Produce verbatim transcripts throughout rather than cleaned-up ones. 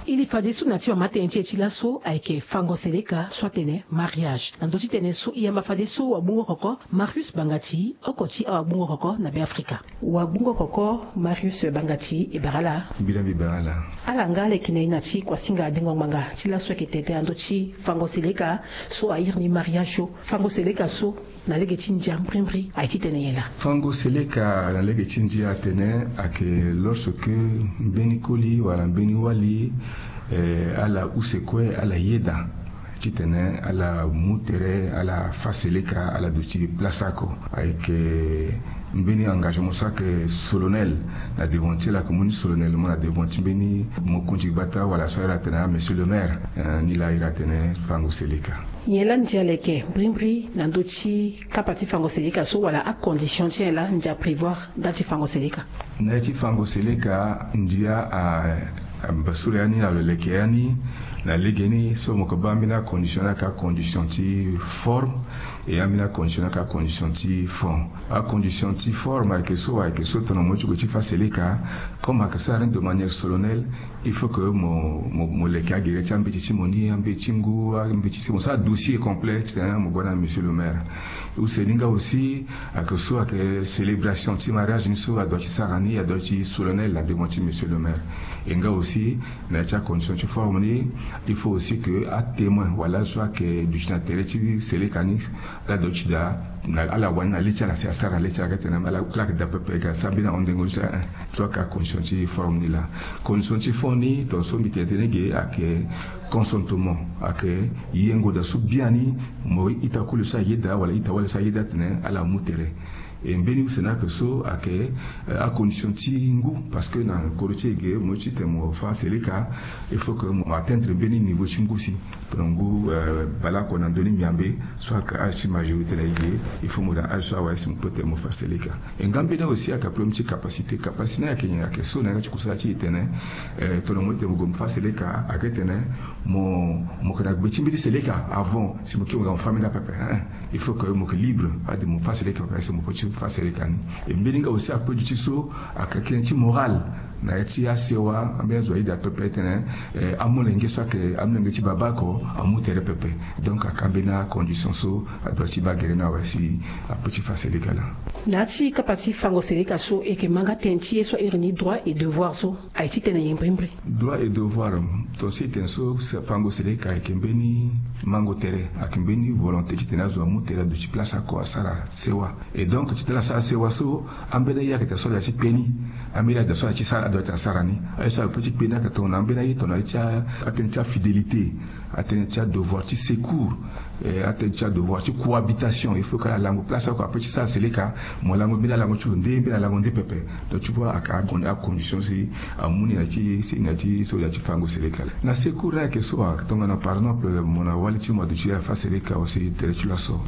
Iri fadeso na ti mama tënë ti e ti laso ayeke fango seleka so atene mariage. Na ndö ti tënë so e yamba fadeso wabungo koko Marius Bangati, oko ti awabungo koko na Beafrika. Wabungo koko Marius Bangati, e bara ala. Mbi laa mbi bara ala. Ala nga ala yeke na e na ti kuasinga dengo ngbanga ti laso ayeke tene tënë na ndö ti fango seleka so airi ni mariage so. Fango seleka so na lege ti ndia mbrimbri aye ti tene nyen laa? Fango seleka na lege ti ndia atene ayeke lorsque mbeni koli wala mbeni wali, eh, ala use kue ala yeda titene ala mu tere ala fa seleka ala duti place oko. Ayeke mbeni engagement so ayeke solennel na devant ti ala, ayeke mu ni solennellement na devant ti mbeni mokonzi gbata wala so ayeke iri atene ah monsieur le maire. Eh, ni laa iri atene fango seleka. Nyen laa ndia leke mbrimbri na ndö ti kapa ti fango seleka so wala acondition ti nyen laa ndia prévoir ndali ti fango seleka? Na ya ti fango seleka ndia a, a, mbasuru ya ni na lo leke ya ni. Na legeni so mo yeke baa ambeni acondition ni ayeke acondition ti forme, e ambeni acondition ni ayeke acondition ti fond. Acondition ti forme ayeke so ayeke so tongana mo ye ti gue ti fa seleka, comme ayeke sara ni de manière solennelle, il faut que mo, mo, mo leke agere ti ambeti ti mo ni, ambeti ti ngu, ambeti ti mo sara dossier complet titene mo gue na monsieur le maire. Use ni nga aussi ayeke so ayeke célébration ti mariage ni so adoit ti sara ni, adoit ti solennel na devant ti monsieur le maire. E nga aussi na ya ti acondition ti forme ni, il faut aussi que atémoin wala azo so ayeke duti na tere ti seleka ni, ala doit ti daa na ala wani na le ti ala si asara na le ti ala, ayeke tene ala, ala yeke daa pepe, e ga sara mbeni ahon dengo ni so, eh, so ayeke acondition ti forme ni laa. Condition ti fond ni, tongaso mbi tene tënë ge ayeke consentement, ayeke yengo daa so biani mo ita koli so ayeda wala ita wali so ayeda atene ala mu tere. E mbeni use ni ayeke so ayeke, eh, acondition ti ngu, parce que na kodro ti e ge mo ye ti tene mo fa seleka, il faut que mo atteindre mbeni niveau ti ngu si. Tongana ngu, eh, baleoko na ndö ni miambe so ayeke âge ti majorité na e ge, il faut mo daa âge so awe si mo peut tene mo fa seleka. E nga mbeni aussi ayeke problème ti capacité. Capacité ni ayeke nyen? Ayeke so na yanga ti kusala ti e tene, eh, tongana mo ye tene mo gue mo fa seleka, ayeke tene mo, mo yeke na gbe ti mbeni seleka avant si mo kiri mo ga mo fa mbeni apepe, hein. Il faut que mo yeke libre ade mo fa seleka pepe si mo peut ti fa seleka ni. E mbeni nga aussi ape duti so ayeke tënë ti moral na ya ti asewa, ambeni azo ayeda pepe titene, eh, amolenge so ayeke amolenge ti baba oko amu tere pepe. Donc ayeke ambeni acondition so adoit ti baa gere ni awe si apeut ti fa seleka laa. Na ya ti kapa ti fango seleka so e yeke ma nga tënë ti ye so a iri ni droit et devoir so. Aye ti tene nyen mbrimbri? Droit et devoir, tongaso e tene so fango seleka ayeke mbeni mango tere, ayeke mbeni volonté titene azo amu tere aduti place oko asara sewa. Et donc titene ala sara sewa so, ambeni aye ayeke daa so ala ti kpe ni, ambeni aye daa so ala ti sara, adoit ti asara ni. Aye so ala peut ti kpe ni ayeke tongana ambeni aye tongana aye ti a, atënë ti afidélité, atënë ti adevoir ti secours, eh, atënë ti adevoir ti cohabitation. Il faut que ala lango place oko, apeut ti sara seleka, mo lango mbeni alango ti lo nde, mbeni alango nde pepe. Donc tu vois, ayeke acondition si amu ni na ti, si na ti so ya ti fango seleka. Na secours ni ayeke so, tongana par exemple mo na wali ti mo aduti afa seleka aussi tere ti laso,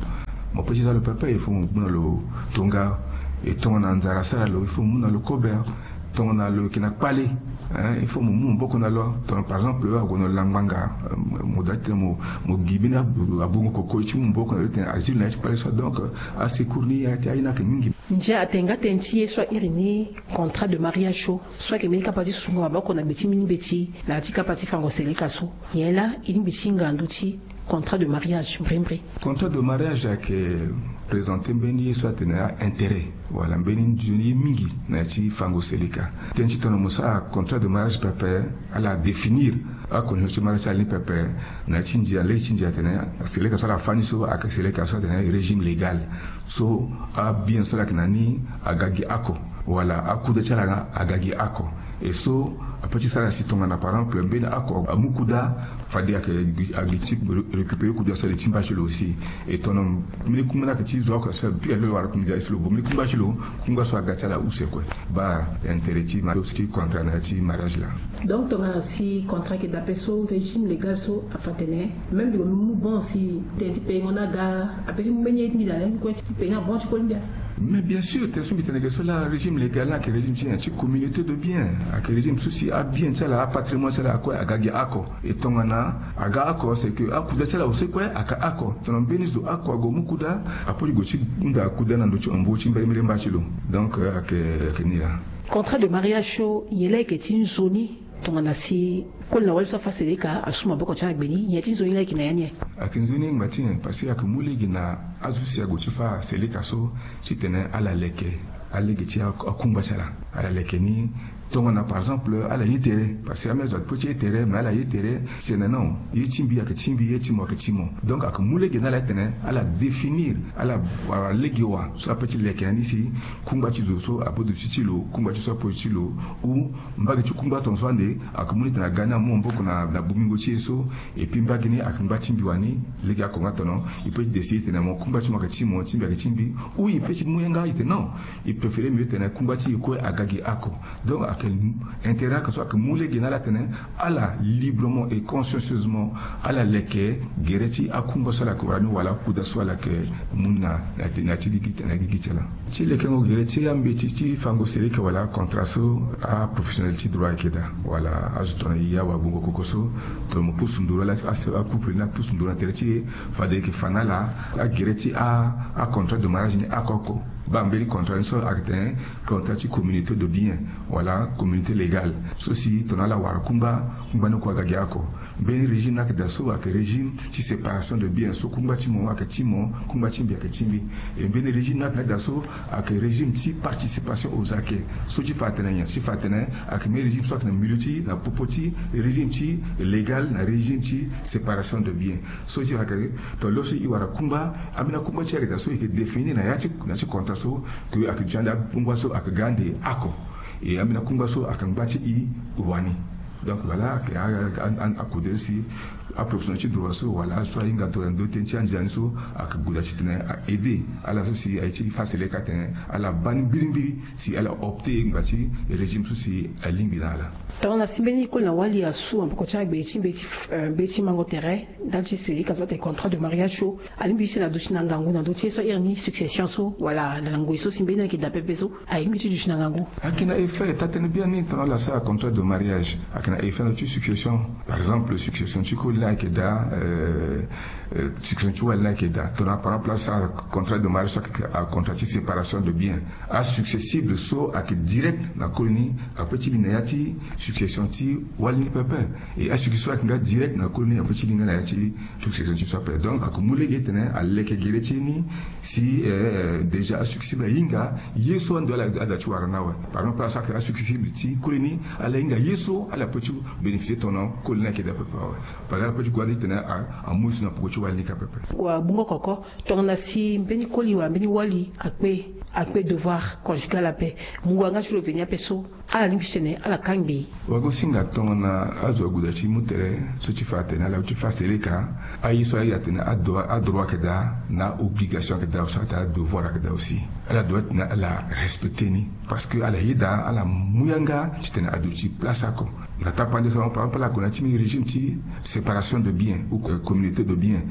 mo peut ti za lo pepe, il faut mo mu na lo tonga. E tongana nzara asara lo, il faut mo mu na lo kobe. Tongana lo yeke na kpale, hein, il faut mo mu maboko na lo. Tongana par exemple ague na lo na ngbanga, euh, mo doit ti tene mo, mo gi mbeni abongo koko ti mu maboko na lo titene azia lo na ya ti kpale so. Donc, euh, asecours ni aye ti aye ni ayeke mingi. Ndia atene nga tënë ti ye so a iri ni contrat de mariage so, so ayeke mbeni kapa ti sungo maboko na gbe ti mbeni mbeti na ya ti kapa ti fango seleka so. Nyen laa e lingbi ti hinga na ndö ti contrat de mariage mbrimbri? Contrat de mariage ayeke présenter mbeni ye so atene aintérêt wala mbeni nzoni ye mingi na ya ti fango seleka. Tënë ti tongana mo sara contrat de mariage pepe, ala définir acondition ti mariage ti ala ni pepe. Na ya ti ndia, lege ti ndia atene seleka so ala fa ni so ayeke seleka so atene régime légal. So abien so ala yeke na ni aga gi oko, wala akuda ti ala aga gi oko. E so apeut ti sara si tongana par exemple mbeni oko amu kuda, fade ayeke, ayeke ti récupérer kuda so ayeke ti mba ti lo aussi. E tongana mbeni kungba ni ayeke ti zo oko so ala pika lo wala kungba si lo bo mbeni kungba ti lo, kungba so aga ti ala use kue. Baa intérêt ti ma, ti contrat na ya ti mariage laa. Donc tongana si contrat ayeke daa ape so, régime légal so afa atene même mbi gue mbi mu bon si tënë ti payengo ni aga, apeut ti mu mbeni ye ti mbi daa lani kue ti payengo ni abon ti koli mbi. Mais bien sûr, tënë so mbi tene ge so laa, régime légal ni ayeke régime ti nyen? Ti communauté de biens. Ayeke régime so si abien ti ala, apatrimoine ti ala kue aga gi oko. E tongana aga oko, c'est que akuda ti ala aussi kue aga oko. Tongana mbeni zo oko ague mu kuda, apeut ti gue ti hunda akuda na ndö ti hombo ti mbeni mba ti lo. Donc, euh, ayeke, ayeke ni laa. Contrat de mariage so, nyen laa ayeke ti nzoni Tongana si koli na wali so afa seleka asu maboko ti ala na gbe ni, nyen ti nzoni laa ayeke na ya ni? Ayeke nzoni ngba ti nyen? Parce que ayeke mu lege na azo si ague ti fa seleka so titene ala leke alege ti akungba ti ala. Ala leke ni tongana par exemple ala ye tere, parce que ambeni azo ape ti ye tere, mais ala ye tere titene non, ye ti mbi ayeke ti mbi, ye ti mo ayeke ti mo. Donc ayeke mu lege na ala titene ala définir, ala wara lege wa so ape ti leke na ni si kungba ti zo so ape duti ti lo, kungba ti so ape duti ti lo, ou mbage ti kungba tongaso ande ayeke mu ni tene aga ni amu maboko na, na bongbingo ti e so. Et puis mbage ni ayeke ngba ti mbi wani. Lege oko nga tono, e peut ti décider tene mo kungba ti mo ayeke ti mo, ti mbi ayeke ti mbi. Ou e peut ti mu yanga e tene non, e préféré mieux tene kungba ti e kue aga gi oko. Donc ayeke intérêt oko so ayeke mu lege na ala tene ala librement et consciencieusement ala leke gere ti akungba so ala yeke wara ni wala akuda so ala yeke mu na, na, na ti gigi, na gigi ti ala. Ti lekengo gere ti ambeti ti fango seleka wala contrat so aprofessionnel ti droit ayeke daa, wala azo tongana e, awagbongo koko so, tongana mo pusu nduru ala, a, acouple ni apusu nduru na tere ti e, fade e yeke fa na ala agere ti a, acontrat de mariage ni oko oko. Baa mbeni contrat ni so ayeke tene contrat ti communauté de bien wala communauté légale. So si tongana ala wara kungba, kungba ni kue aga gi oko. Mbeni régime ni ayeke daa so ayeke régime ti séparation de bien, so kungba ti mo ayeke ti mo, kungba ti mbi ayeke ti mbi. E mbeni régime ni ayeke nga daa so ayeke régime ti participation aux acquis. So ti fa atene nyen? Ti fa atene ayeke mbeni régime so ayeke na milieu ti, na popo ti régime ti légal na régime ti séparation de bien. So ti fa ayeke, tongana lo so e wara kungba, ambeni akungba ti e ayeke daa so e yeke définir na ya ti, na ya ti contrat so, ke ayeke duti ande akungba so ayeke ga ande oko. E ambeni akungba so ayeke ngba ti e wani. Donc voilà, ayeke a, a, a, akudere si aprofessionnel ti droit so wala azo so ahinga tongana ndo tënë ti andia ni so ayeke gue daa titene a aider ala so si aye ti fa seleka tene ala baa ni mbirimbiri si ala opter ngba ti régime so si alingbi na ala. Tongana si mbeni koli na wali asu maboko ti agbe ti mbeti, eh, mbeti mango tere ndali ti seleka so atene contrat de mariage so, alingbi ti tene aduti na ngangu na ndö ti ye so a iri ni succession so wala na ngoi so si mbeni ayeke daa pepe so, alingbi ti duti na ngangu? Ayeke na effet, taa tënë biani, tongana ala sara contrat de mariage ayeke na effet na ndö ti succession. Par exemple succession ti koli ni ayeke daa, euh, euh, succession ti wali ni ayeke daa. Tongana par exemple asara contrat de mariage so ayeke acontrat ti séparation de bien, asuccessible so ayeke direct na koli ni ape ti li na ya ti succession ti wali ni pepe. E asuccession so ayeke nga direct na koli ni ape ti li nga na ya ti succession ti so ape. Donc ayeke mu lege titene aleke gere ti e ni si, eh, déjà asuccessible ahinga ye so ando ala, ala daa ti wara ni awe. Par exemple ala sara titene asuccessible ti koli ni ala hinga ye so ala peut ti bénéficier tongana koli ni ayeke daa pepe awe. Parce que ala peut ti gue ande titene a, amu ye so na poko ti wali ni kâ pepe. Wa bungo koko, tongana si mbeni koli wala mbeni wali akpe, akpe devoir conjugal ape, mungo yanga ti lo veni ape so, ala lingbi ti tene ala kangbi? Wagosinga tongana azo ague daa ti mu tere so ti fa atene ala ti fa seleka, aye so aye atene adroit, adroit ayeke daa na obligation ayeke daa, so atene adevoir ayeke daa aussi. Ala doit titene ala respecter ni parce que ala yeda ala mu yanga titene aduti place oko. Na tapande so par exemple ala gue na ya ti mbeni régime ti séparation de bien ou, euh, communauté de bien.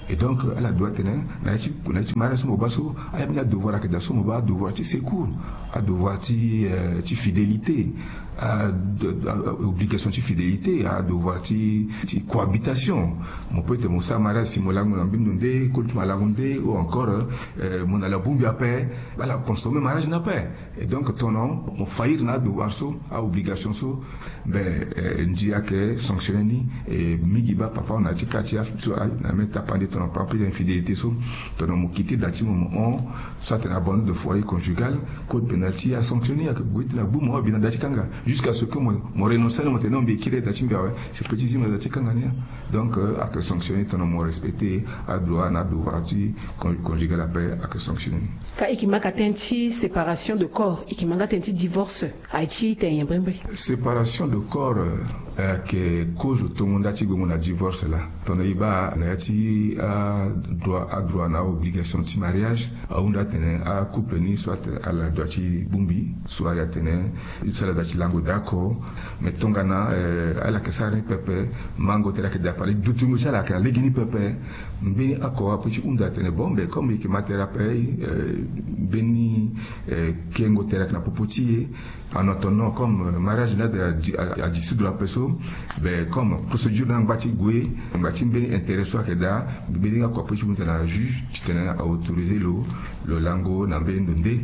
Et donc, euh, ala doit titene na ya ti, na ya ti mariage so mo baa so, ala mbeni adevoir ayeke daa so mo baa, adevoir ti secours, adevoir ti, euh, ti fidélité, a, de, a, obligation ti fidélité, adevoir ti, ti cohabitation. Mo peut titene mo sara mariage si mo lango na mbeni ndo nde, koli ti mo alango nde, ou encore, euh, mo na ala bongbi ape, ala consommer mariage ni ape. Et donc tongana mo faillir na adevoir so, aobligation so, ben, eh, ndia ayeke sanctionner ni. Eh, mingi baa papa na ya ti kâ ti azo so, ah, na mbeni tapande tongana par exemple infidélité so, tongana mo quitter da ti mo, mo hon, so atene abandon de foyer conjugal, code pénal ti e asanctionner, ayeke gue ti na gbu mo abi na da ti kanga, jusqu'à ce que mo, mo renoncer ni, mo tene non, mbi kiri da ti mbi awe, c'est petit, zi mo na da ti kanga ni. Donc, euh, ayeke sanctionner tongana mo respecter adroit na adevoir ti con-, conjugal ape, ayeke sanctionner ni. Ka e yeke ma ka tënë ti séparation de corps, e yeke ma nga tënë ti divorce, aye ti tene nyen brimbri? Séparation de corps, euh, ayeke kozo tongo nda ti gongo na divorce laa. Tongana e baa na ya ti, ah, droit, adroit na aobligation ti mariage, ahunda atene acouple ni soit ala doit ti bongbi, soit ala tene, soit ala doit ti lango daa oko. Mais tongana, euh, ala yeke sara ni pepe, mango tere ayeke daa pale, dutingo ti ala ayeke na legeni pepe. Mbeni oko ape ti hunda atene bon, mais comme e yeke ma tere ape, eh, mbeni, eh, kengo tere ayeke na popo ti e. En attendant, comme, euh, mariage ni ade a, a, a dissoudre ape so, ben, comme procédure ni angba ti gue, angba ti mbeni intérêt so ayeke daa, mbeni oko ape ti hunda na juge titene a autoriser lo, lo lango na mbeni ndo nde.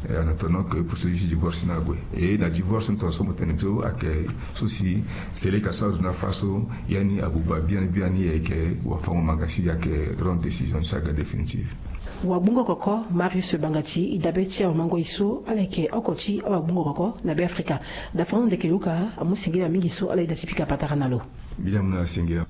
En attendant que pour so ye si divorce ni ague, e na divorce ni tonga so mo tene so ayeke so si seleka so azo ni afa so, ya ni abuba biani biani ayeke wafango-manga si ayeke rendre décision ni so aga définitive. Wagbongo koko Marius Bangati e dabe ti awamango-e so ala yeke oko ti awagbongo koko na Beafrika. Dafango ndeke luka amu singila mingi so ala yeda ti pika patara na lo. Mbi la mu na singila.